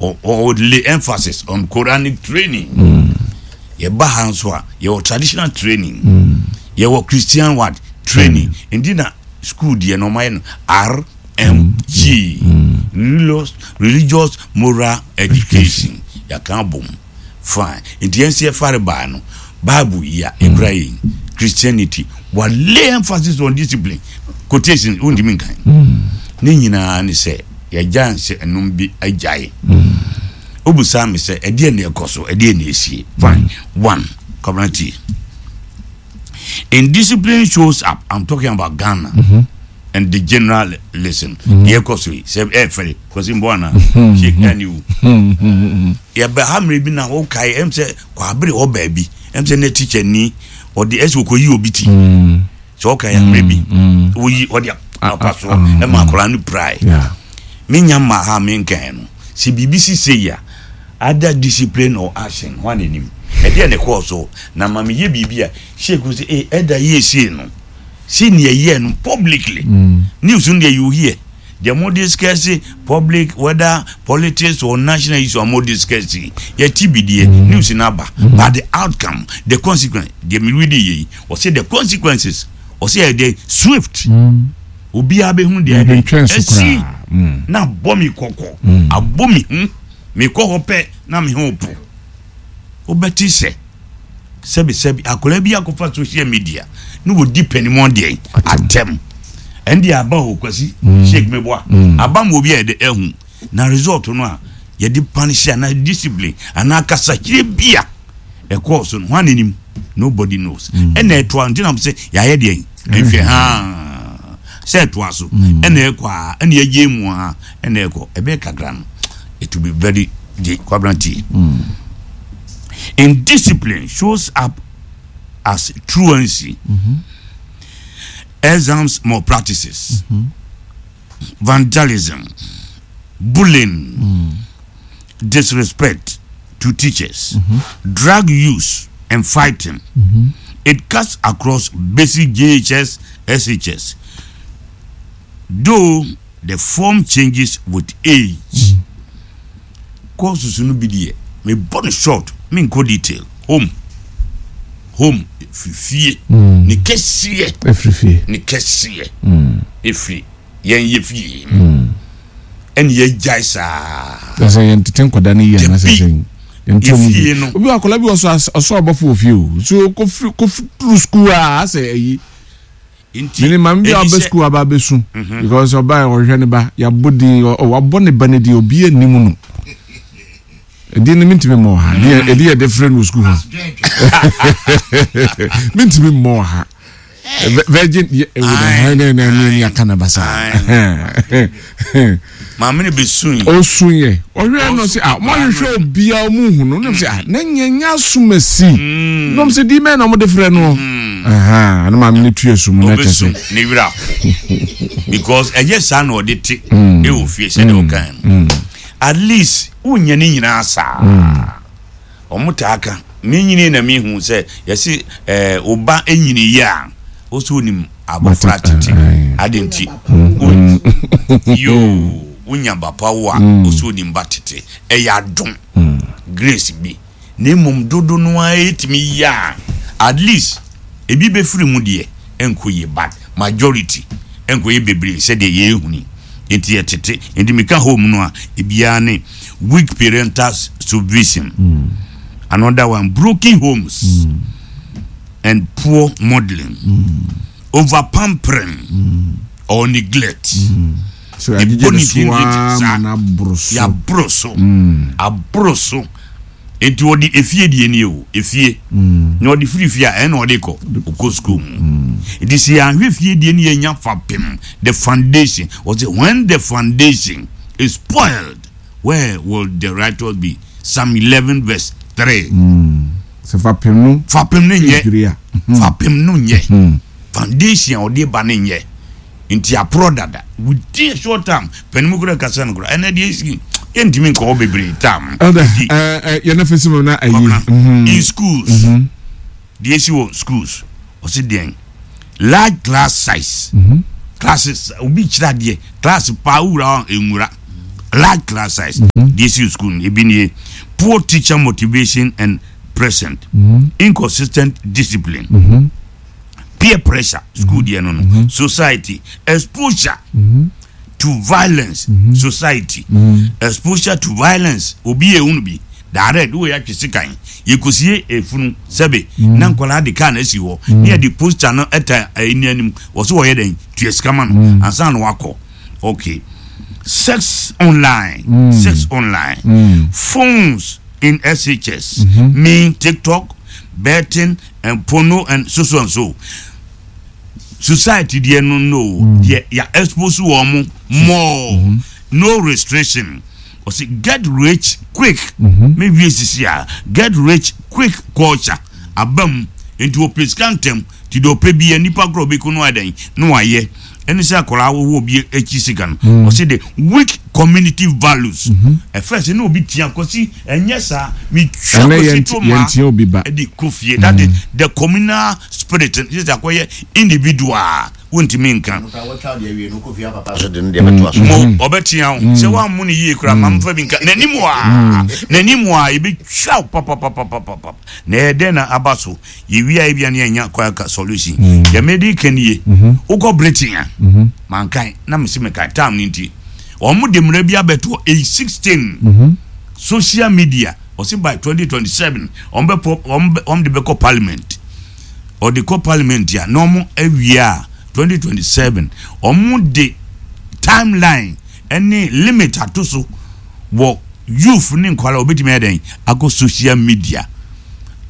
Ɔ lay emphasis on Quranic training. Yɛba ha nso a, yɛwɔ traditional training. Yɛwɔ Christian what training. Nti na school deɛ no ɔmayɛ no RMG. Religious, religious moral education. Yɛaka abom. Fine. Nti yɛn nso yɛfare baa no, Bible yi a ekura yɛn, Christianity, wa lay emphasis on discipline. Quotation, wontumi nkan. Ne nyinaa ne sɛ, yɛagya nsɛ ɛnom bi agyae. Wobusaa me sɛ, ɛdeɛ na ɛkɔ so, ɛdeɛ na ɛsie. Fine. One, Kwabena tie. Indiscipline shows up, I'm talking about Ghana. Mm -hmm. And the general listen. Deɛ ɛkɔ so yi, sɛ ɛfɛre, kwasi mbɔ ana, shake ɛni wu. Yɛbɛ ha mmerɛ bi na wokae, ɛm sɛ kwabere hɔ baabi, ɛm sɛ ne teacher ni, ɔde ɛsɛ ɔkɔyi obi ti. Sɛ ɔkae mmerɛ bi, woyi ɔde apa so, ɛma akwadaa no pirae. Menya mma ha menkae no, sɛ biribi si sei a, either discipline or action, hwan na anim? Ɛdeɛ na ɛkɔɔ so, na ma meyɛ biribi a, shake sɛ, eh, ɛda yie sei no. See nea ɛyɛɛ no publicly. News no deɛ you hear. Deɛ mo discuss public whether politics or national issue a mo discuss yi, yɛte bi deɛ news no aba. But the outcome, the consequence, deɛ me read yɛ yi, ɔsɛ the consequences, ɔsɛ yɛ deɛ swift. Obiara bɛhu deɛ ɛde Ntwɛn so asi koraa. na abɔ me kɔkɔ, abɔ me hu, mekɔ hɔ pɛ na me ho po. Wobɛte sɛ sɛbisɛbi akwadaa bi akɔfa social media na wɔdi panimu deɛn atɛm ɛnde aba hɔ kwasi mm. sheik meboa mm. aba ma obi a yɛde ahu na result no a yɛde punish anaa discipline anaa kasakyerɛ bi a ɛkɔɔ so no ho anenim nobody knows mm. ɛna ɛtoa nti nam sɛ yɛayɛ deɛn nhwɛ ha sɛ ɛtoa so ɛna ɛkɔ a ɛna yɛgye mu a ɛna ɛkɔ ɛbɛyɛ kakra no it will be very de kwabena tie indiscipline shows up as truancy mm -hmm. exams malpractices mm -hmm. vandalism bullying mm. disrespect to teachers mm -hmm. drug use and fighting mm -hmm. it cuts across basic JHS, SHS. Though the form changes with age. Courses no bi deɛ mebɔ no short menkɔ detail. Home home ɛfiri fie mm. ne kɛseɛ ɛfiri fie ne kɛseɛ ɛfiri mm. yɛn yɛ fie mm. ɛne yɛgyae saa. Ɛsɛ yɛn tete nkwadaa no yie anasɛ sɛ yɛn ti ɔmo yie no. Obi akwadaa bi ɔsɔ ɔsɔ abɔfo wɔ fie o so kofiri kofiri sukuu a asɛ ɛyi. Nti, Mene maame bi a ɛni ɔba sɛ. sukuu aba abɛsu because ɔba ɔhwɛ ne ba yɛabɔ din wabɔ ne ba ne din obi anim no ɛdin no mentumi mmɔ ha ɛdi yɛde frɛ no wɔ sukuu hɔ mentumi mmɔ ha virgin yɛ ɛwɔ dɛ hɛn ne ne ne ne aka na basa maame no bɛsu yi ɔsu yɛ ɔhwɛ no sɛ ah mo ahwehwɛ obiara ɔmo hu no nam sɛ ah na nyɛ nyɛ asomasi nam sɛ di mɛ na ɔmo de frɛ no ɛhɛn na maame no tua su mu na kyɛ sɛ ɔbɛsu ne werɛ aho because ɛyɛ saa na ɔde te ɛwɔ fie sɛdeɛ ɔkan no at least wonyɛ ne nyinaa saa Wɔn taa ka. Me nyini na me hu sɛ yɛsi ɛɛ eh, oba nyini yie a wosi onim abɔfra tete adi nti yoo wonya ba pa wo a wosi onim ba tete ɛyɛ adom grace bi na mmom dodo no ara etumi yie a at least ebi bɛfiri mu deɛ ɛnkɔ yie but majority ɛnkɔ yɛ bebree sɛdeɛ yɛhuni nti yɛtete nti meka home no a ebiara ne weak parental supervision mm. another one broken homes mm. and poor modeling mm. over pampering mm. or neglect mm. so yɛagyegye ne so ara ma no aboro so yɛaboro so aboro so nti ɔde efie deɛ nie o efie mm. na ɔde firi fie a ɛna ɔde kɔ ɔkɔ sukuu mu mm. nti sɛ yɛahwɛ fie deɛ ne yɛnya fapem the foundation ɔsɛ when the foundation is spoiled where will the righteous be Psalm 11 verse 3 mm. sɛ fapem no fapem no nyɛ fapem no nyɛ mm. foundation a ɔde ba no nyɛ Nti aporɔ dada within a short time pɛnimu kura kasa no kura ɛnɛ deɛ esi yɛntumi nkɔ hɔ bebree tam. Ɛdɛ ɛɛ yɛn afɛ si mu na ayi. Mhm. In schools mhm. deɛ esi wɔ schools ɔsi deɛn large class size mhm. classes obi kyerɛ adeɛ class paa wura hɔ nwura. Large class size. Deɛ esi school no ebi nie poor teacher motivation and present. Inconsistent discipline. Peer pressure school deɛ no no. Society exposure to violence society exposure to violence obi yɛ ehunu bi direct wo yɛ atwe sekan yɛkɔsie efunu sɛbe na nkwadaa de kaa na asi hɔ ne yɛde poster no ɛta ɛni anim wɔ so wɔyɛ dɛn tua sika ma no ansa na wakɔ okay sex online sex online phones in SHS mean TikTok betting and porno and so so and so society deɛ no no deɛ ya expose wɔn mo more no restriction ɔsi get rich quick me wie sisi a get rich quick culture aba mu nti ɔpɛ sika ntɛm ti deɛ ɔpɛ bi yɛ nipa korɔ ɔbɛku no adan na wayɛ ɛne sɛ akwaraa wɔwɔ obi akyi sika no ɔsi de weak community values ɛfɛ sɛ ne obi tia kɔsi ɛnyɛ saa metwa Ɛnɛ kɔsi to ma yɛntia obi ba. ɛde kɔ fie that is the communal spirit sɛ sɛ akɔyɛ individual wontumi nka mo ɔbɛtea wo sɛ woammo no yie koraa ma mfa bi nka n'anim a n'anim a yɛbɛtwa wo papapapapapa na ɛyɛ dɛn na aba so yɛwia ebia ne yɛnya kwan ka solution deɛ mede ka nie wokɔ Britain a mankan na mese meka time no nti ɔmo de mmara bi abɛto age 16 social media ɔse by 2027 ɔmo bɛpɔ ɔmo de bɛkɔ parliament ɔde kɔ parliament a na ɔmo awie a 2027 ɔmo de timeline ɛne limit ato so wɔ youth ne nkwalaa obetumi ayɛ dɛn akɔ social media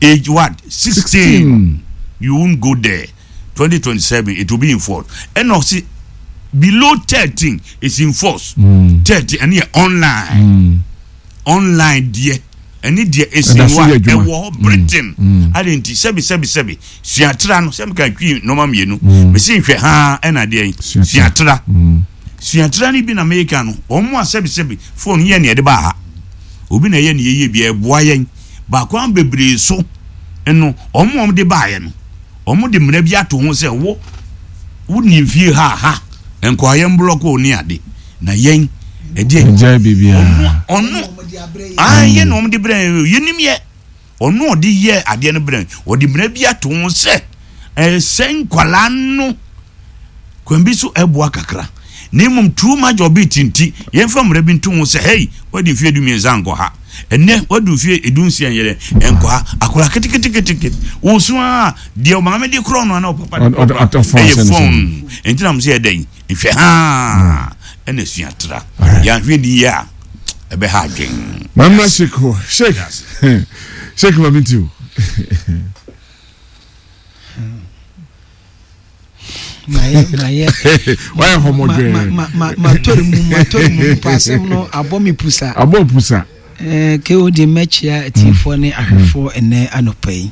age what 16 you won't go there 2027 it will be in force ɛna ɔsi below 13 is in force 13 ɛne yɛ online online deɛ ɛne deɛ esi Ɛda so hɔ yɛ a adwuma. ɛwɔ hɔ Britain ade nti sɛbi sɛbi sɛbi suatra no sɛbi ka twi nneɛma mmienu mesi nhwɛ haa ɛna deɛ yi Suatra. suatra suatra no bi na meka no wɔn a sɛbi sɛbi phone yɛ nea ɛde ba ha obi na ɛyɛ ne yɛyɛ bi ɛboa yɛn baako an bebree so ɛno wɔn a wɔn de baayɛ no wɔn de mmerɛ bi ato ho sɛ wo wo ni mfie ha ha nkɔayɛ mblɔko ne ade na yɛn ɛdeɛ Ɛgyae biribiara. ɔno aa yɛ na wɔn de brɛ yɛn yɛnim yɛ ɔno ɔde yɛ adeɛ no brɛ ɔde mmerɛ bi ato ho sɛ ɛsɛ nkwalaa no kwan bi so ɛboa kakra na mmom too much of it nti yɛmfa mmerɛ bi nto ho sɛ hei wadi mfeɛ 13 nkɔ ha ɛnɛ wadi mfeɛ 16 yɛrɛ nkɔ ha akwadaa keteketekete wɔsu a deɛ ɔmaame de korɔ no ana ɔpapa de korɔ no Ɔtɔ phone ɛyɛ ahyɛ ne so. phone nti na mo sɛ yɛdɛn nhwɛ haa ɛna sua tra yɛanhwɛ ni yie a ɛbɛha adwen. Mamma Sheik hɔ Sheik Sheik ma mi ti o. Mayɛ mayɛ. Wayɛ hɔmɔdwɛɛ. Ma ma ma matɔre mu matɔre mu mpo asɛm no abɔ me pusa. Abɔ pusa. Ɛɛ ke o de mɛkyia atiefoɔ ne ahwɛfoɔ ɛnɛ anɔpa yi.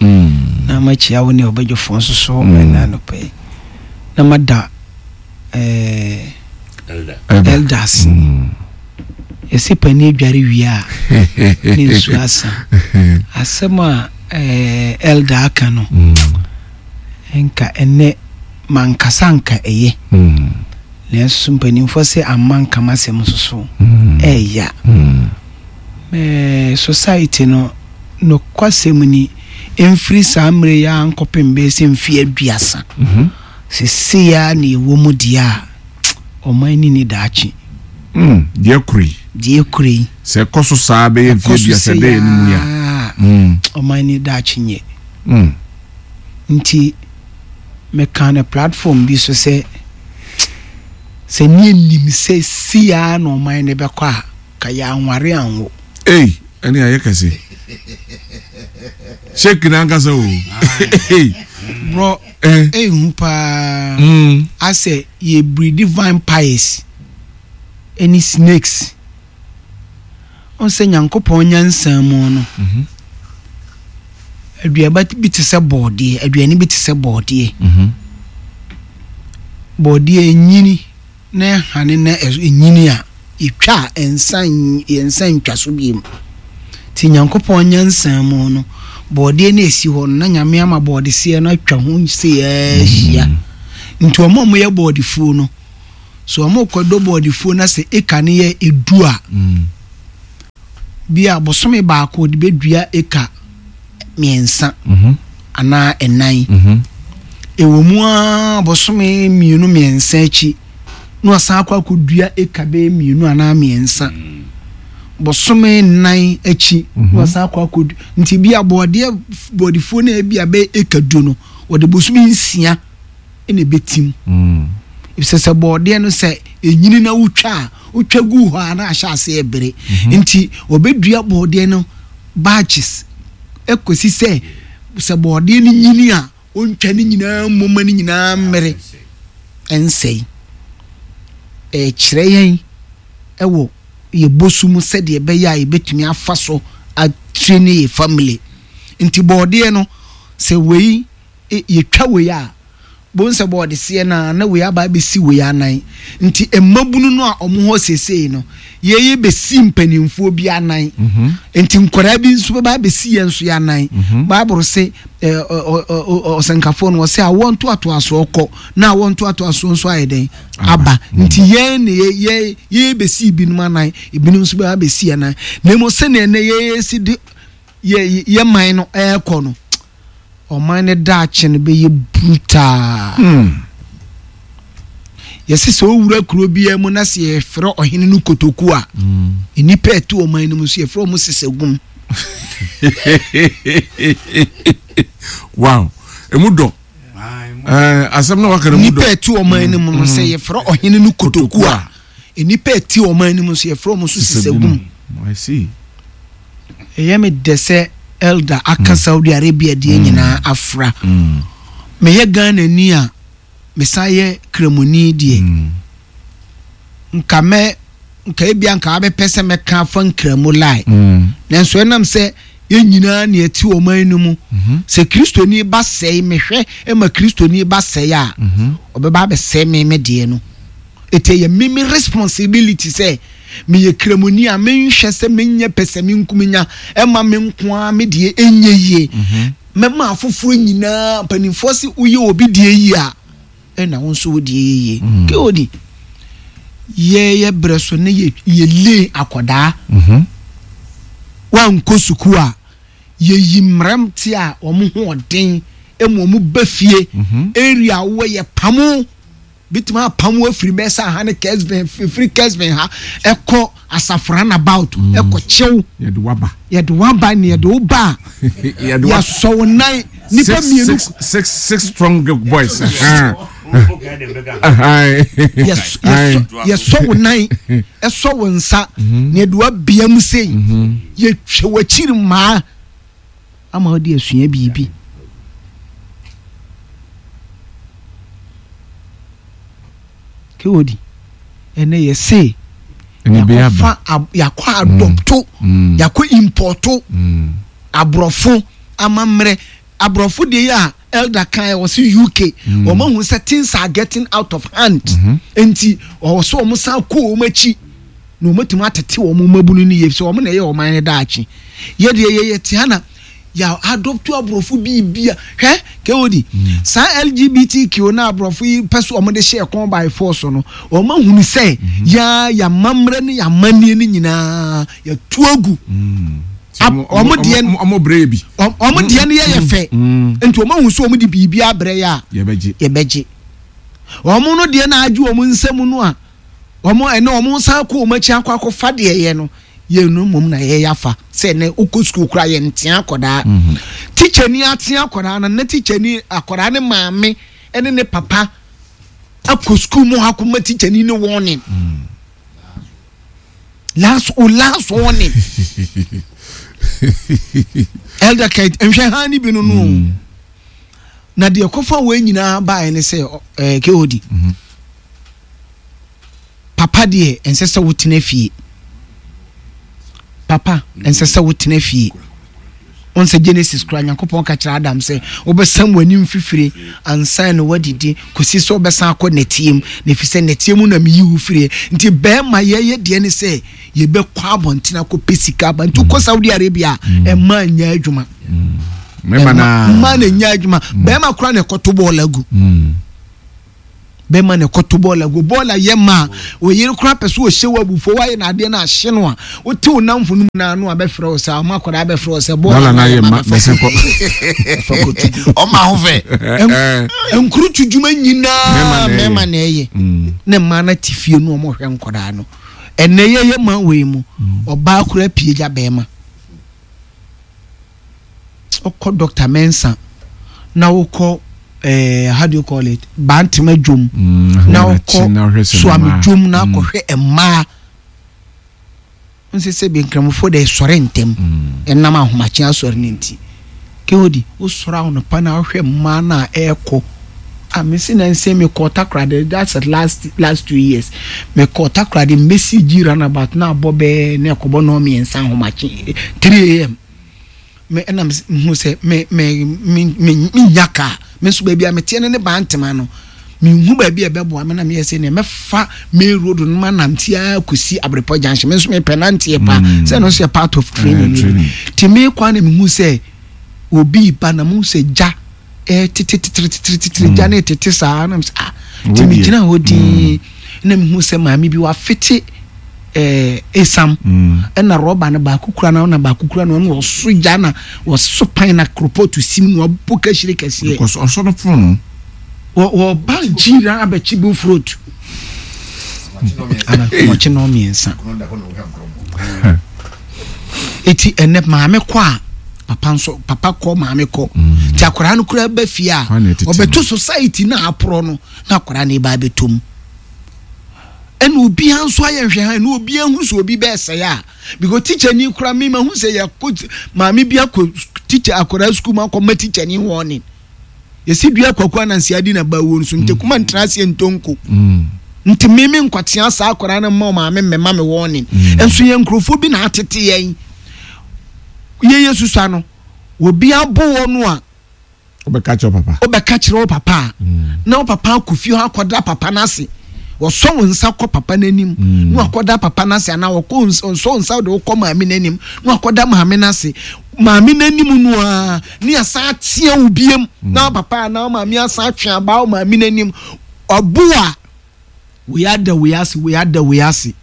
Na mɛkyia wo ne ɔbɛdwofoɔ nso so ɛnɛ anɔpa yi. Na mada ɛɛ elders. Yɛsi panin adware wie a ne nsuo asa. Asɛm a ɛɛ elder aka no. Nka ɛnɛ mankasa nka ɛyɛ. Nanso mpanimfoɔ sɛ amma nka m'asɛm nso so ɛɛya. Ɛɛ society no nokwasɛm ni mfiri saa mmerɛ yi ara nkɔpem bɛyɛ sɛ mfeɛ 30. Seesei ara na ɛwɔ mu deɛ a ɔman ni ni daakye. Deɛ kuro yi. Deɛ kuro yi. Sɛ ɛkɔ so saa bɛyɛ mfeɛ Ɛkɔ so 30 sei dɛ yɛ ne mu ya. ara ɔman ni daakye nyɛ. Nti meka no platform bi so sɛ sɛ ne nim sɛ si ara na ɔman no bɛkɔ a ka yɛ anware anwo. Ei ɛne ayɛ kɛse. Sheik n'ankasa o. Bro ehu paa asɛ yɛ breed vampires ɛne snakes. Ɔn sɛ Nyankopɔn nyansa mu no aduaba bi te sɛ bɔɔdeɛ, aduane bi te sɛ bɔɔdeɛ. Bɔɔdeɛ enyini na ɛhane na enyini a etwa a ɛnsa yɛnsa ntwa so biem. Nti Nyankopɔn nyansa mu no bɔɔdeɛ no esi hɔ no na Nyame ama bɔɔdeseɛ no atwa ho sei ahyia. Nti ɔmo a ɔmo yɛ bɔɔdefuo no. So wɔrekɔdɔ bɔɔdefuo na sɛ eka no yɛ edu a, bi a bosome baako wɔde bɛdua eka mmiɛnsa anaa ɛnan. Ɛwɔ mu ara bosome mmienu mmiɛnsa akyi na wasan akɔ akɔdua eka bɛyɛ mmienu anaa mmiɛnsa. Bosome nnan akyi na wasan akɔ akɔdua nti bi a bɔɔdeɛ bɔɔdefuo no a ebi a bɛyɛ eka du no wɔde bosome nsia na ɛbɛtim. Efisɛ sɛ bɔɔdeɛ no sɛ ɛnyini na wotwa a, wotwa gu hɔ a na ahyɛ aseɛ ɛbere. Nti wɔbɛdua bɔɔdeɛ no batches ɛkɔsi sɛ sɛ bɔɔdeɛ no nyini a wɔntwa ne nyinaa mmom ma ne nyinaa mmere ɛnsɛe. Ɛkyerɛ yɛn ɛwɔ yɛ bosu mu sɛdeɛ ɛbɛyɛ a yɛbɛtumi afa so atrain yɛ family. Nti bɔɔdeɛ no sɛ wei yɛtwa wei a, bohu sɛ bɔɔde seɛ no ara na wei aba abɛsi wei anan. Nti mmabunu no a wɔn hɔ seesei no, yɛyɛ bɛsi mpanimfoɔ bi anan. Mhm. Nti nkwadaa bi nso bɛba abɛsi yɛn nso yɛ anan. Mhm. Bible se ɔsɛnkafoɔ no ɔsɛ awoɔ ntoatoasoɔ kɔ na awoɔ ntoatoasoɔ nso ayɛ dɛn aba. Mhm. Nti yɛn ne yɛ yɛ bɛsi ebinom anan, ebinom nso bɛba abɛsi anan. Na mmom sɛnea ɛnɛ yɛsi de yɛ yɛ man no ɛrekɔ no, Ɔman no daakye no bɛyɛ brutal. Yɛse sɛ owura kuro biara mu na sɛ yɛfrɛ ɔhene no kotoku a, nnipa ɛte ɔman no mu nso yɛfrɛ wɔn sesagum. Wow, emu dɔ. Eh, asɛm na waka no mu dɔ. Nnipa ɛte ɔman no mu no sɛ yɛfrɛ ɔhene no kotoku a, nnipa ɛte ɔman no mu nso yɛfrɛ wɔn nso sesagum. I see. Ɛyɛ me dɛ sɛ Elder aka mm. Saudi Arabia deɛ mm. nyinaa afra. Mm. Meyɛ Ghanani a mesan yɛ Kramoni deɛ. Nka mɛ nka ebia nka abɛpɛ sɛ mɛka afa Nkramo lie. Nanso ɛnam sɛ yɛn nyinaa na ɛte ɔman no mu. Mhm. Sɛ Kristoni ba sɛe mehwɛ ma Kristoni ba sɛe a, mhm. ɔbɛba abɛsɛe me me deɛ no. Eti ɛyɛ me me responsibility sɛ meyɛ kramoni a menhwɛ sɛ menyɛ pɛsɛmenkominya ɛma me nko ara me deɛ ɛnyɛ yie. Mhm. Mɛma afoforɔ nyinaa mpanimfoɔ se woyɛ obi deɛ yie a ɛna wo nso wo deɛ yɛ yie. Mm. Keodi yɛyɛ berɛ so ne yɛ yɛ akɔdaa. Mhm. Wankɔ sukuu a yɛyi mmeranteɛ a wɔn ho ɔden ma wɔn ba fie mhm. area wɔ yɛ pamo Bɛtumi apam wo afiri bɛyɛ sɛ aha ne Kesben, firi Kesben ha ɛkɔ asafo runabout mm. ɛkɔ kyew. Yɛde waba. Yɛde waba ne yɛde wo ba a. Yɛsɔ wo nan nipa mmienu. Six six strong boys. Yɛsɔ wo nan ɛsɔ wo nsa mhm. na yɛde wabea mu sei mhm. yɛtwa w'akyiri mmaa. ama wode asua biribi. Kewodi, ɛnɛ yɛse yɛakɔfa yɛakɔ adɔpto mm. mm. yɛakɔ impɔto mm. aborɔfo amammerɛ aborɔfo deɛ yi a elder kan wɔ se UK wɔn ahu sɛ things are getting out of hand mm-hmm. nti wɔwɔ so wɔn san kɔ wɔn akyi. na wɔatumi atete wɔn mmabunu no yie sɛ wɔn na ɛyɛ ɔman no daakye. Yɛ deɛ yɛyɛ te ha na yɛ adopto aborɔfo biribi a hwɛ kod mm. saa LGBTQ na aborɔfo yi pɛ so wɔn de hyɛ kɔn by force no wɔn ahunu sɛ mm-hmm. yɛ yɛamammerɛ ne yɛamanneɛ no nyinaa yɛtu agu. Mm. wɔn deɛ wɔn brɛ bi wɔn deɛ no yɛ yɛ fɛ mm. nti wɔn ahu sɛ wɔn de biribi abrɛ yɛ a yɛbɛgye yɛbɛgye wɔn no deɛ na agye wɔn nsam no a. Wɔn ɛnɛ wɔn san kɔ wɔn akyi akɔ akɔfa deɛ yɛ no yɛn no mmom na yɛyɛ afa sɛ ɛnɛ wokɔ sukuu koraa yɛn ntea akɔdaa mhm. tikyani atea akɔdaa no na tikyani akɔdaa ne maame ɛne ne papa akɔ sukuu mu akɔma tikyani ne warning mm. last o last warning elder kate nhwɛ ha ni bi no no mm. na deɛ kɔfa wɔn nyinaa baeɛ ne sɛ ɛɛ kod. Mm -hmm. Papa deɛ ɛnsɛ sɛ wotena fie. Papa ɛnsɛ sɛ wotena fie. Wɔn sɛ Genesis kura Nyankopɔn ka kyerɛ Adam sɛ wobɛsam w'anim fifire ansa na wadidi kɔsi sɛ wobɛsan akɔ nɛteɛ mu na ɛfiri sɛ nɛteɛ mu na meyi wo firie. Nti bɛrima yɛyɛ deɛ ne sɛ yɛbɛkɔ abɔnten akɔpɛ sika aba. Nti wokɔ Saudi Arabia a ɛma nyɛ adwuma. Mmaa na nyɛ adwuma. Bɛrima kora na ɛkɔto bɔɔl agu. Bɛma no ɛkɔto bɔɔla gu. Bɔɔla yɛ ma a, oyere koraa pɛ sɛ ɔhyɛ wo abufuo, woayɛ no adeɛ no ahye no a, wote wo namfo no mu no ano a bɛfrɛ wo sɛ, ɔma akwadaa bɛfrɛ wo sɛ bɔɔla no ayɛ ma bɛfa kɔto gu. Ɔma ho fɛ. Nkurutu dwuma nyinaa mmarima na ɛyɛ. Ne mmaa no te fie no wɔhwɛ nkwadaa no. Ɛnɛ yɛyɛ ma wei mu, ɔbaa koraa pie gya bɛrima. Wokɔ Doctor Mensah na wokɔ eh, how do you call it Bantama dwom mm, na wokɔ Suame dwom na mm. akɔhwɛ mmaa nsɛ sɛ bi nkramofoɔ de sɔre ntɛm mm. ɛnam ahomakye asɔre no nti kehodi wosɔre ahonopa na wohwɛ mmaa no a ɛrekɔ a mesi na nsɛ mekɔ Takoradi that's the last last 2 years mekɔ Takoradi mbɛsi gyi runabout na abɔ bɛɛ na ɛkɔbɔ nɔɔ mmiɛnsa ahomakye 3 am me ɛna mehu sɛ me me me me menya kaa me nso baabi a meteɛ no ne Bantama no mehu baabi a ɛbɛboa me na meyɛ sɛ nea mɛfa main road no ma nante ara kɔsi Abrepɔ junction me nso mepɛ nanteɛ paa mm. sɛ ɛno nso yɛ part of training no bi nti mekɔ a na mehu sɛ obi ba na mehu sɛ gya ɛtetetetetetetete gya no tete saa na mesɛ ah nti megyina hɔ din mm. na mehu sɛ maame bi wafete ɛɛ esam ɛna rɔba no baako kura na ɔna baako kura na ɔna ɔso gya na ɔso pan na koropɔtu sim na ɔbɔ kahyire kɛseɛ. Ɔsɔ no fon. Wɔ wɔba gyira abɛkye bu fruit. Ana ɔkye na ɔmmiɛnsa. Eti ɛnɛ maame kɔ a papa nso papa kɔ maame kɔ. Mm. Ti akwaraa no kura ba fie a ɔbɛto society na aporɔ no na akwaraa no ba abɛtɔ mu. Ɛna obiara nso ayɛ nhwɛ ha ɛna obiara hu sɛ obi bɛɛsɛe a because teacher ni kura mi ma hu sɛ yɛkɔ maame bi akɔ teacher akwaraa sukuu mu akɔ ma teacher ni warning. Yɛsi dua kwaku ananse adi na ba wuo nso ntekuma mm. ntena aseɛ ntonko. Mm. Nti me me nkwatea saa akwaraa no mma ɔmaame mmɛma me warning. Mm. Nso yɛn nkurɔfoɔ bi na atete yɛn. Yɛyɛ susua no obi abo wɔ no a. Wobɛka kyerɛ papa. Wobɛka kyerɛ wo papa a. Na wo papa akɔ fie hɔ akɔda papa no ase. Wɔsɔ wo nsa kɔ papa no anim mm. na wakɔda papa no ase anaa wɔkɔ nsɔ wo nsa de wokɔ maame no anim na wakɔda maame no ase maame no anim no ara ne asan atea wo biem mm. na papa anaa maame asan atwe abaa wo maame no anim ɔbo a wei ada wei ase wei ada wei ase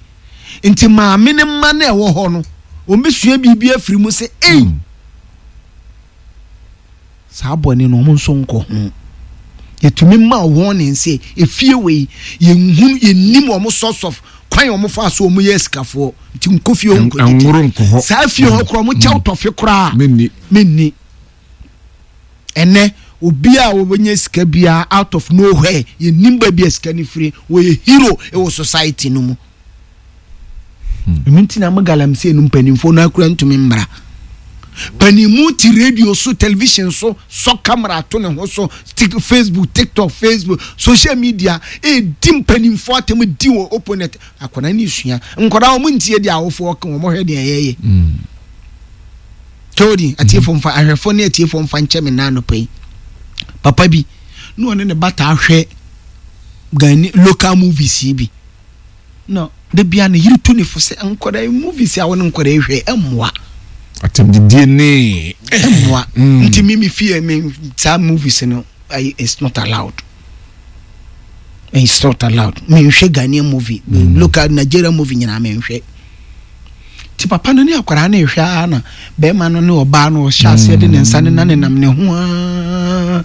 nti maame no mma no ɛwɔ hɔ no wɔn bɛsua biribi afiri mu sɛ ei mm. Saa bɔne no, wɔn nso nkɔ ho. Yɛtumi ma warning sɛ efie wei yɛnhunu yɛnnim wɔn source of kwan wɔn fa so wɔn yɛ asikafoɔ nti nkɔ fie hɔ nkɔ didi. Saa fie hɔ koraa wɔn kyɛw tɔfe koraa menni. Menni. Ɛnɛ obi a wɔbɛnya sika biara out of nowhere yɛnnim baabi a sika no firi wɔyɛ hero wɔ society no mu. Ɛno nti na mo galamsey no mpanimfoɔ no akura ntumi mmra. Panimu te radio so, television so, sɔ camera to ne ho so, Facebook, TikTok, Facebook, social media, ɛdi mpanimfoɔ atɛm di wɔ opponent. Akwadaa no sua. Nkwadaa wɔn ntie deɛ awofoɔ ka wɔn hwɛ deɛ yɛyɛ. Todi, atiefoɔ mfa ahwɛfoɔ ne atiefoɔ mfa nkyɛ me nan anɔpa yi. Papa bi na ɔne ne ba taa hwɛ Ghanaian local movies yi bi. Na da biara ne yere tu ne fo sɛ nkwadaa yi movies a wɔne nkwadaa yi hwɛ ɛmmoa. Atɛmdidie ne. Ɛmmoa. Mm. Nti mi mi fie mi saa movies no it's not allowed. It's not allowed. Mi nhwɛ Ghanaian movie, mm. local Nigerian movie nyinaa mi nhwɛ. Ti papa no ne akwadaa no rehwɛ ara na bɛrima no ne ɔbaa no ɔhyɛ aseɛ de ne nsa ne nanenam ne ho ara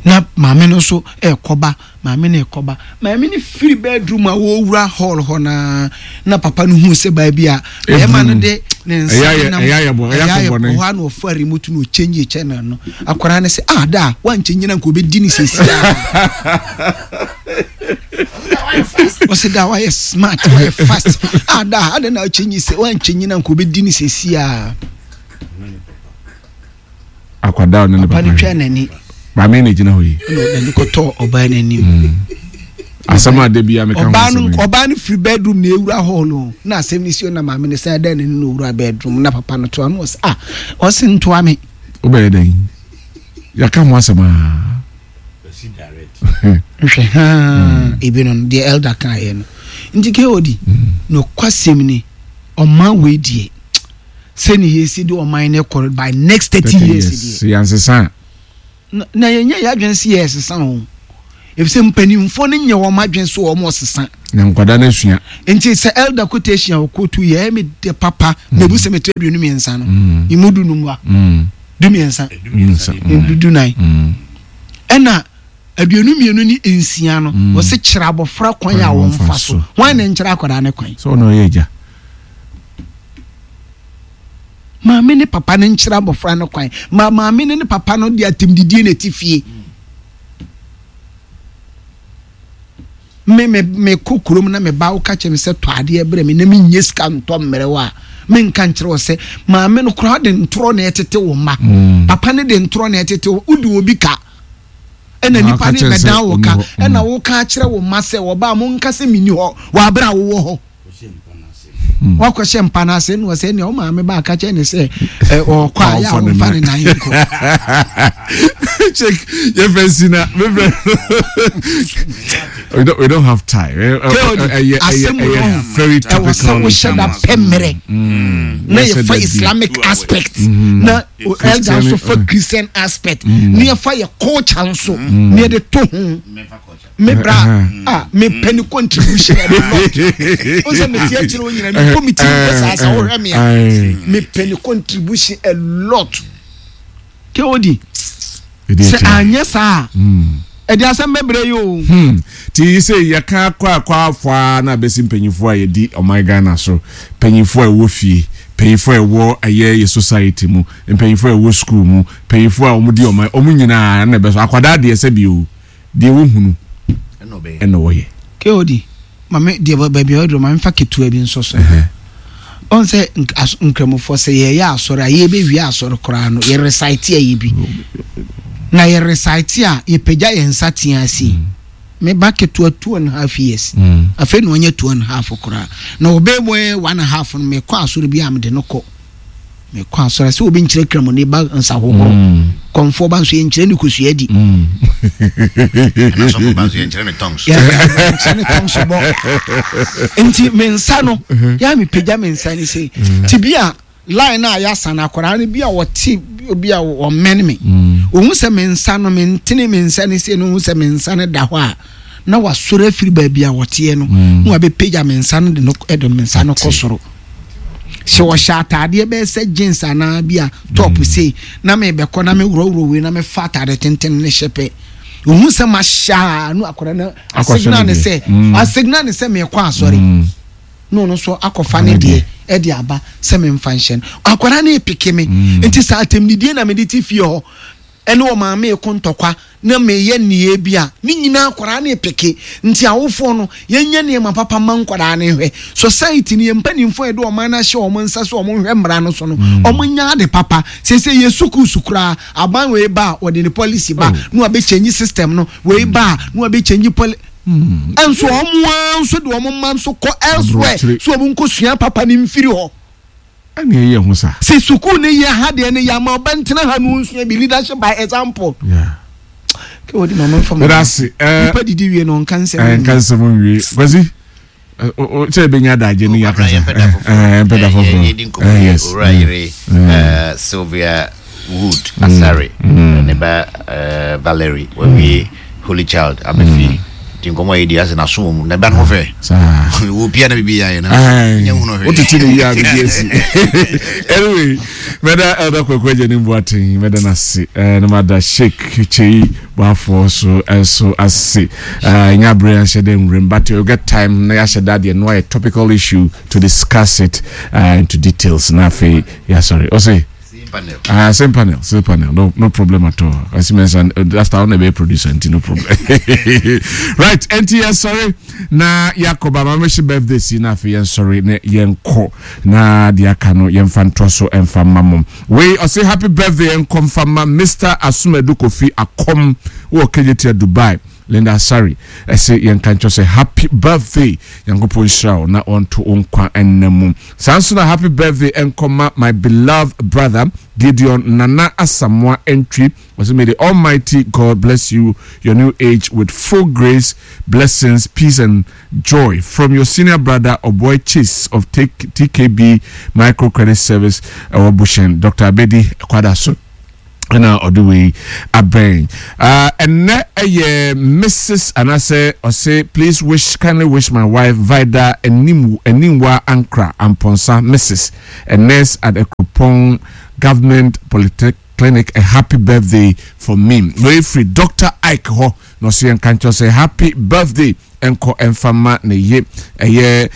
na maame no nso ɛrekɔba Maame no rekɔba. Maame no firi bedroom a wɔrewura hall hɔ no ara na papa no huu sɛ baabi a bɛrima no de ne nsa nam ɛyɛ ayɛ hɔ a na ɔfa remote no ɔchange channel no. Akwadaa no sɛ ah da wankyɛnyi na nka ɔbɛdi ne sɛsi a. Ɔsɛ da wayɛ smart wayɛ fast ah da adɛn na ɔkyɛnyi sɛ wankyɛnyi na nka ɔbɛdi ne sɛsi a. Akwadaa ne ne papa no twaa n'ani. Maame na egyina hɔ yi. Ɛna n'ani kɔtɔɔ ɔbaa n'anim. Hmm. Asɛm a dabi a meka ho asɛm yi. Ɔbaa no firi bedroom na ewura hall no na asɛm no si na maame no san dan n'ani na owura bedroom na papa no toa no ɔsɛ ah ɔsɛ ntoa me. Wobɛyɛ dɛn? Yɛaka ho asɛm aa. Nhwɛ haa hmm. ebi no deɛ elder kan yɛ no nti KOD hmm. nokwasɛm ni ɔman wei deɛ. Sɛnea yɛsi de ɔman no kɔ by next 30 years deɛ. Sɛ yɛansesa a. Na yɛnyɛ yɛn adwene sɛ yɛresesa o. Efisɛ mpanimfoɔ no nyɛ wɔn adwene so wɔn ɔsesa. Na nkwadaa no asua. Nti sɛ elder quotation a ɔkootu yɛ ɛyɛ me dɛ papa. Mebu sɛ metra 23 no. Emu 15 a. 13. 14. Ɛna 22 ne 6 no, wɔse kyerɛ abɔfra kwan a wɔmfa so. Hwan na nkyerɛ akwadaa no kwan? Sɛ ɔno ɔyɛ agya. Maame ne papa no nkyerɛ abɔfra no kwan. Ma maame ne ne papa no de atɛmdidie na ɛte fie. Me me mekɔ kurom na me ba woka kyerɛ me sɛ tɔ adeɛ brɛ me na menyɛ sika ntɔ mmerɛ wo a menka nkyerɛ wo sɛ maame no koraa de ntorɔ na ɛtete wo mma mm. papa no de ntorɔ na ɛtete wo wode obi ka ɛna nipa no bɛdan wo ka ɛna mm. woka akyerɛ wo mma sɛ wɔba mo nka sɛ menni hɔ wɔ aberɛ a wowɔ hɔ wakɔhyɛ mpa no ase na ɔsɛ nea ɔmaame ba aka kyerɛ ne sɛ ɔkɔ a yɛ a ɔmfa ne nan nkɔ. Check yɛfɛ si na mefrɛ we don't we don't have time. Asɛm wɔ very topical. Ɛwɔ sɛ wohyɛ da pɛ mmerɛ na yɛfa Islamic aspect na elder nso fa Christian aspect na yɛfa yɛ culture nso na yɛde to ho. Me bra a me pɛ ne contribution a lot. O sɛ me ti akyerɛ o nyina me bɔ me ti mpɛ saa sɛ wohwɛ me a me pɛ ne contribution a lot. Ke odi sɛ anyɛ saa a ɛde asɛm bɛbrɛ yi o. Hmm. Ti yi sɛ yɛka akɔ akɔ afɔ a na abɛsi mpanyinfoɔ a yɛdi ɔman Ghana so, mpanyinfoɔ a ɛwɔ fie, mpanyinfoɔ a ɛwɔ ɛyɛ yɛ society mu, mpanyinfoɔ a ɛwɔ school mu, mpanyinfoɔ a wɔn di ɔman, wɔn nyinaa na ɛbɛso akwadaa deɛ sɛ bi o. Deɛ wɔhunu na wɔyɛ. KOD, ma me deɛ baabi a waduru ma memfa ketewa bi nso so. Ɔn sɛ nkramofoɔ sɛ yɛyɛ asɔre a yɛbɛwie asɔre koraa no yɛ recite a yɛ bi. Na yɛ recite a yɛpagya yɛn nsa tea ase. Mm. Me ba ketewa 2½ years. Afei na ɔnyɛ 2½ koraa. Na ɔbɛbɔ 1½ no mekɔ asɔre bi a mede no kɔ. Mekɔ asɔre sɛ obi nkyerɛ kramoni ba nsa hohoro. Mm. Kɔmfoɔ ba nso yɛnkyerɛ ne kosua di. Mm. Ɛna sɔfo ba nso yɛnkyerɛ ne tongues. Yɛnkyerɛ ne tongues bɔ. Nti me nsa no, mm-hmm. yɛ a mepagya me nsa ne sei. Mm. Ti bi a line a yɛasa no akwaraa no bi a wɔte bi a wɔmmɛn me. Mm. Ohun sɛ me nsa no mentene me nsa ne sei no ohun sɛ me nsa no da hɔ a na wasɔre afiri baabi a wɔteɛ no na wabɛpagya me nsa no de no de me nsa no kɔ soro. Sɛ ɔhyɛ ataadeɛ bɛyɛ sɛ jeans anaa bi a top mm. sei na mebɛkɔ na meworɔworɔ wei na mefa ataade tenten ne hyɛ pɛ ohun sɛ mahyɛ a no akɔda no asigna ne sɛ mm. asigna ne sɛ mekɔ asɔre mm. na ɔno nso akɔfa ne deɛ ɛde aba sɛ memfa nhyɛ no akwadaa no epeke me nti sɛ atɛmdidie na mede te fie hɔ ɛne ɔmaame reko ntɔkwa na meyɛ nneyɛɛ bi a, ne nyinaa akwadaa no repeke. Nti awofoɔ no, yɛnyɛ nneɛma papa mma nkwadaa no nhwɛ. Society no, yɛn mpanimfoɔ a yɛde ɔman no ahyɛ wɔn nsa sɛ wɔn nhwɛ mmara no so no, mm. wɔn nyɛ ade papa. Seesei yɛ sukuusu koraa, aban wei ba a, wɔde ne policy ba, oh. na wɔabɛkyɛnyi system no, wei ba a, na wɔabɛkyɛnyi poli mm. Nso wɔn ara nso de wɔn mma nso kɔ elsewhere so wɔn nkɔsua papa no mfiri hɔ. Ɛna ɛyɛ ho sa. Sɛ sukuu ne yɛ ha deɛ ne yɛ ama ɔbɛ ntena ha no nsua bi leadership by example. Yeah. Kɛ wɔde mama nfa ma. Ɛda eh, Nipa didi wie no nka nsɛm. Eh, nka nsɛm nwie. Kwasi sɛ ɛbɛnya adagye ne yɛakasa. Ɛmpɛ da foforɔ. Yɛdi nkɔmmɔ yi owura yere Sylvia Wood Asare ne ba Valerie wawie Holy Child aba fie nti nkɔmmɔ a yɛdi asɛ n'aso wɔ mu na ɛba no ho fɛ wɔ pia na biribi yɛ ayɛ na nyɛ hu no hwee wotete ne yie a biribi asi anyway mɛda Elder Kwaku Agya ne Mboaten mɛda no ase na mada Sheikh Kyei Boafoɔ so nso ase ɛnyɛ abere anhyɛ dɛ nwuram but you get time na yɛahyɛ da deɛ no ayɛ topical issue to discuss it into details na afei yɛasɔre ɔse Same panel. Ah, same panel, same panel. No, no problem at all. I see mention that's the only producer, nti no problem. Right, nti yɛn sorry na Yakoba ma mehyɛ birthday si na afei yɛn sorry na yɛn kɔ na deɛ aka no yɛn fa ntoa so ɛnfa mma mo. Wei ɔse happy birthday yɛn kɔ nfa ma Mr. Asumadu Kofi Akɔm wɔ Kejetia Dubai. Linda Asare ɛse yɛnka nkyerɛ sɛ happy birthday Nyankopɔn nhyira wo na ɔnto wo nkwa nna mu. Saa nso na happy birthday nkɔma my beloved brother Gideon Nana Asamoah Antwi ɔse may the almighty God bless you your new age with full grace, blessings, peace and joy from your senior brother Oboy Chase of TKB Micro Credit Service ɛwɔ Bushen Doctor Abedi Kwadaso. Ɛna ɔde wei abɛn. Ɛnɛ ɛyɛ Mrs. Anaasɛ ɔse please wish kindly wish my wife Vida Anim Animwa Ankra Amponsah Mrs. A nurse at Akropong Government Polyclinic a happy birthday for me. Wei firi Doctor Ike hɔ na ɔse yɛnka nkyerɛ sɛ happy birthday nkɔ mfa ma ne ye ɛyɛ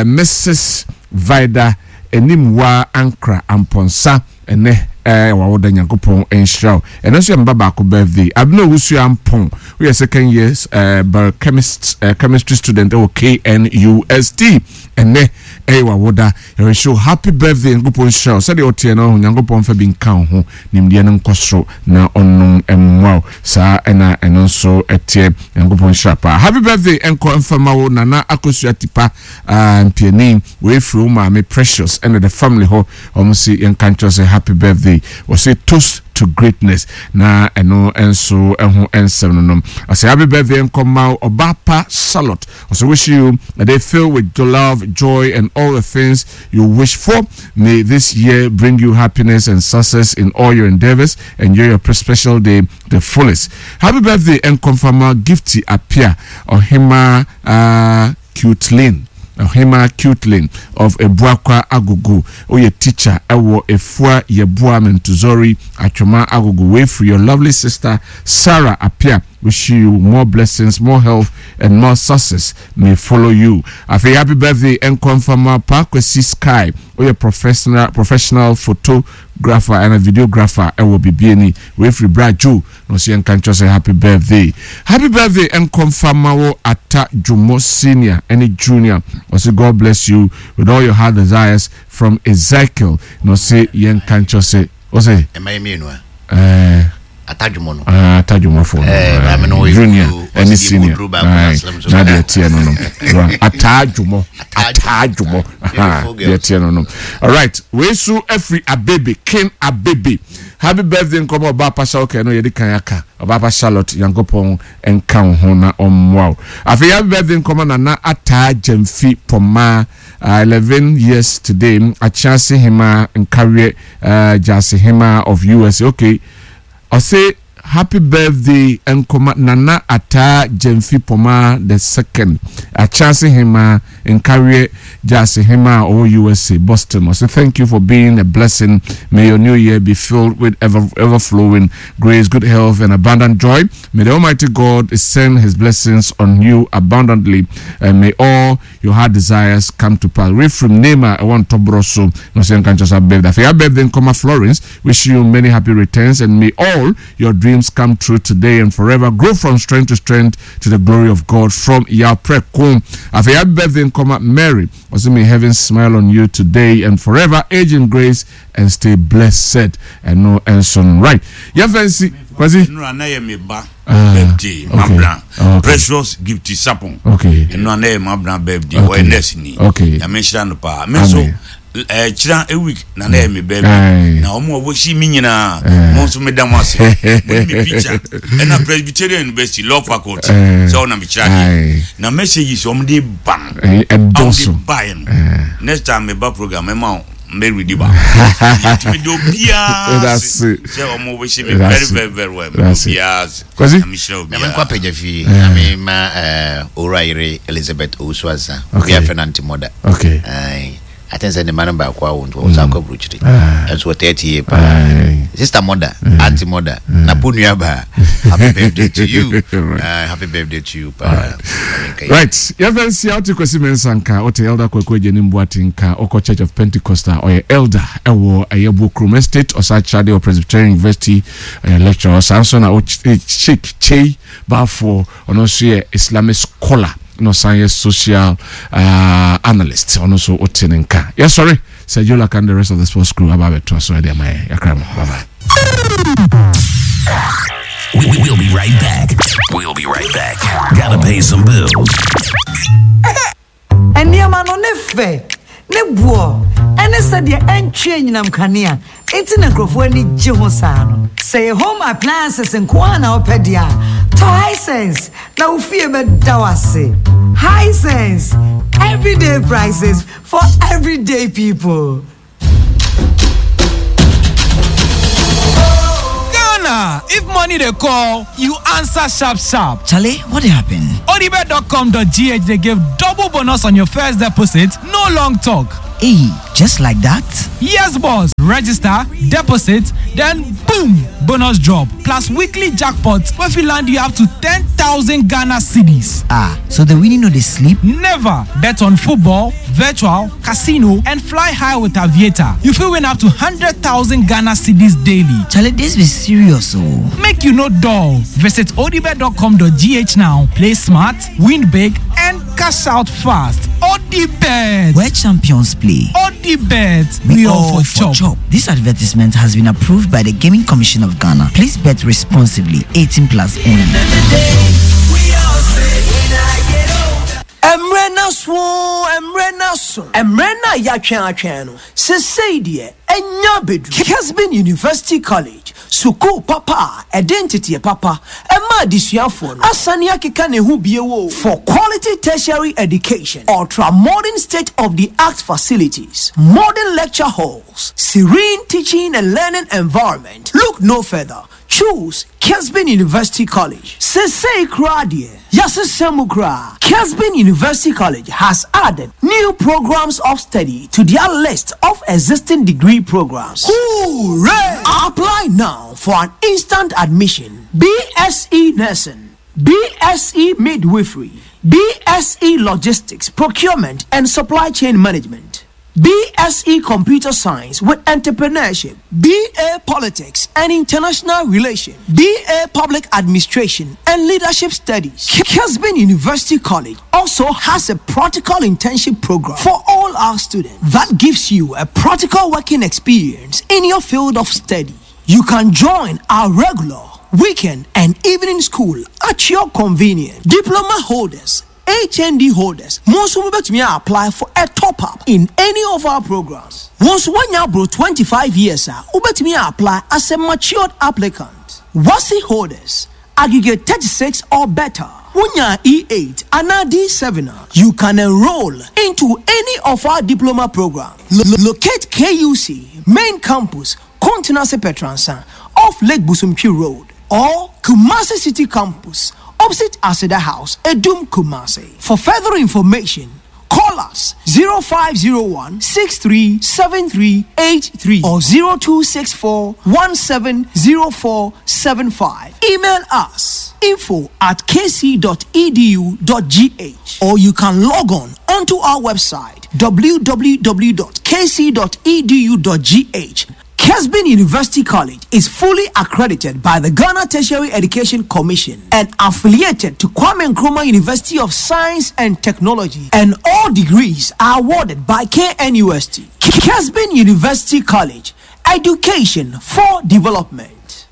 Mrs. Vida Animwa Ankra Amponsah. Ɛnɛ ɛɛ wawoda Nyankopɔn nhyira wo. Ɛnɛ nso yɛ me ba baako birthday. Abena Owusu Ampong, woyɛ second year ɛɛ biochemist ɛɛ chemistry student ɛwɔ KNUST. Ɛnɛ ɛyɛ wawoda. Yɛrehyɛ wo happy birthday. Nyankopɔn nhyira wo. Sɛdeɛ woteɛ no, Nyankopɔn mfa bi nka wo ho. Nimdeɛ no nkɔ soro na ɔnnom mmoa wo. Saa ɛna ɛno nso ɛteɛ. Nyankopɔn nhyira paa. Happy birthday ɛnkɔ mfa ma wo Nana Akosua Tipa ah, Mpiani. Wei firi wo maame Precious ɛna the family hɔ. Wɔn se yɛnka nkyerɛ sɛ happy birthday. Wɔse toast to greatness. Na ɛno nso ɛho nsɛm no nom. Ɔsɛ happy birthday nkɔma ɔba pa Charlotte. Ɔsɛ wish you a day filled with love, joy and all the things you wish for. May this year bring you happiness and success in all your endeavors. Enjoy your special day the fullest. Happy birthday nkɔmfama Gifty Apia Ɔhema uh, Cutelin Ɔhemaa Cutelin of Abuakwa Agogo woyɛ teacher ɛwɔ Efua Yeboah Mentuzori Atwoma Agogo wei firi your lovely sister Sarah Appiah wish you more blessings more health and more success may follow you Afei happy birthday ɛnkɔ mfa ma Paa Kwasi Sky woyɛ professional professional photographer ɛna videographer ɛwɔ Bibiani wei firi Bra Joe Na ɔse yɛnka nkyerɛ sɛ happy birthday. Happy birthday nkɔ mfa ma wo Atta Dwomo senior ɛne junior. Ɔse God bless you with all your heart desires from Ezekiel. Na ɔse yɛnka nkyerɛ sɛ ɔse. Ɛma yɛ mmienu a. Ɛɛ. Atta Dwomo no. Ah, Atta Dwomo fo no. Ɛɛ maame no ɔyɛ junior kuduro. ɛne senior. Kuduro baako na slim so. Na deɛ ɛteɛ no no. Atta Dwomo. Atta Dwomo. Deɛ ɛteɛ no no. Alright, wei so afiri Abebe, King Abebe. Happy birthday nkɔmɔ ɔbaa pa Charlotte no yɛde kan aka ɔbaa pa Charlotte Nyankopɔn nka wo ho na ɔmmoa wo afei happy birthday nkɔmɔ Nana Ataa Gyamfi Pɔmaa uh, 11 years today Akyease Hemaa Nkaweɛ uh, Gyase Hemaa of USA okay ɔse Happy birthday nkɔma Nana Ataa Gyamfi Pomaa the second, Akyase Hemaa, Nkareɛ Gyase Hemaa a ɔwɔ USA, Boston. Ɔse thank you for being a blessing, may your new year be filled with ever overflowing grace, good health and abundant joy. May the Almighty God send his blessings on you abundantly and may all your heart desires come to pass. Wei firi name a ɛwɔ ntɔborɔ so na ɔsɛ nka nkyɛn sɛ happy birthday. Afei happy birthday nkɔma Florence. Wish you many happy returns and may all your dreams come true today and forever. Grow from strength to strength to the glory of God from Yaw Preko. Afei happy birthday nkɔma Mary. Ɔsɛ may heaven smile on you today and forever. Age in grace and stay blessed. Ɛno nso no right. Yɛmfa nsi Kwasi. Ɛnura na yɛ me ba ah, birthday okay. mabra ah, okay. Precious Gift Sapon. Okay. Ɛnura na yɛ mabra birthday okay. ɔyɛ nurse ni. Okay. Nyame nhyira no paa. Me nso ɛkyerɛ a week na na yɛ me birthday. Na wɔn a wɔhyɛ mi nyinaa mo nso meda mo ase. Mo ne me picture ɛna Presbyterian University law faculty sɛ ɔna me kyerɛ adeɛ. Na messages wɔn de ba no. Ɛdɔɔso. Wɔn de ba yɛ no. Next time me ba program mɛma wo. Mary di ba. Yɛtumi de obiara ase sɛ ɔmo bɛhyɛ me very very very well. Mede obiara ase. Kwasi. Nyame hyira Nyame nkɔ obiara. apagya fie. Nyame ma eh, owura yere Elizabeth Owusu Ansa. Okay. Obi afrɛ no Aunty Mother. Okay. Aye. I think sɛ ne mma no baako awo nti wɔn nsa akɔ aburokyire. Ah. Ɛnso wɔ 30 year paa. Aye. Sister Mother, Aunty Mother, na po nua baa. Happy birthday to you. Right. Happy birthday to you paa. Nyame nka yɛ. Right. Yɛmfa nsia wote Kwasi Mensah nka, wote Elder Kwaku Agyenim Boate nka, wokɔ Church of Pentecost a, ɔyɛ elder ɛwɔ Ɛyɛbo Kurom Estate, ɔsan kyerɛ adeɛ wɔ Presbyterian University, ɔyɛ lecturer. Ɔsan nso na Sheikh Chei Balfour, ɔno nso yɛ Islamic scholar na ɔsan yɛ social uh, analyst. Ɔno nso wote ne nka. Yɛsɔre Sir Joe Laka and the rest of the sports crew aba abɛtoa so ɛde ama yɛn. Yɛakra mo. Bye bye. We'll be right back. We'll be right back. Gotta pay some bills. Nneɛma no ne fɛ, ne boɔ, ɛne sɛdeɛ ɛntwe anyinam kanea nti na nkurɔfoɔ ani gye ho saa no. Sɛ ɛyɛ home appliances nko ara na wopɛ deɛ a, tɔ Hisense na wo fie bɛda wo ase. Hisense, everyday prices for everyday people. brother, if money dey call, you answer sharp sharp. Charlie, what happen? Odibet.com.gh dey give double bonus on your first deposit, no long talk. Hey, just like that? Yes, boss. Register, deposit, then boom, bonus drop. Plus weekly jackpot wey fit land you up to 10,000 Ghana cedis. Ah, so the winning no dey sleep? Never bet on football, virtual, casino, and fly high with Aviator. You fit win up to 100,000 Ghana cedis daily. Charlie, this be serious oh. Make you no dull. Visit odibet.com.gh now. Play smart, win big, and cash out fast. Odibet. Where champions play. Odibet. We, all for chop. This advertisement has been approved by the Gaming Commission of Ghana. Please bet responsibly. 18 plus only. Mmerɛ no aso oo, mmerɛ no aso. Mmerɛ no a yɛatwɛn atwɛn no, sesei deɛ anya abɛduru. Kesben University College, sukuu papa a ɛde nteteɛ papa ma adesuafoɔ no, asane akeka ne ho bio oo. For quality tertiary education, ultra modern state of the art facilities, modern lecture halls, serene teaching and learning environment, look no further. Choose Kesben University College. Sesei koraa deɛ, yɛasesa mu koraa. Kesben University College has added new programs of study to their list of existing degree programs. Hooray! Apply now for an instant admission. BSc Nursing, BSc Midwifery, BSc Logistics, Procurement and Supply Chain Management. BSc Computer Science with Entrepreneurship, BA Politics and International Relations, BA Public Administration and Leadership Studies. Kesben University College also has a practical internship program for all our students that gives you a practical working experience in your field of study. You can join our regular, weekend, and evening school at your convenience. Diploma holders, HND holders, mo nso mobɛtumi a apply for a top up in any of our programs. Wo nso woanya aboro 25 years a, wobɛtumi a apply as a matured applicant. WASSCE holders, aggregate 36 or better, wonyaa E8 anaa D7 a, you can enroll into any of our diploma programs. Locate KUC main campus, Kontenase Petransa, off Lake Bosomtwe Road, or Kumasi City Campus, opposite Aseda House, Adum, Kumasi. For further information, call us 0501 637383 or 0264 170475. Email us info at kc.edu.gh or you can log on onto our website www.kc.edu.gh. Kesben University College is fully accredited by the Ghana Tertiary Education Commission and affiliated to Kwame Nkrumah University of Science and Technology, and all degrees are awarded by KNUST. Kesben University College, education for development.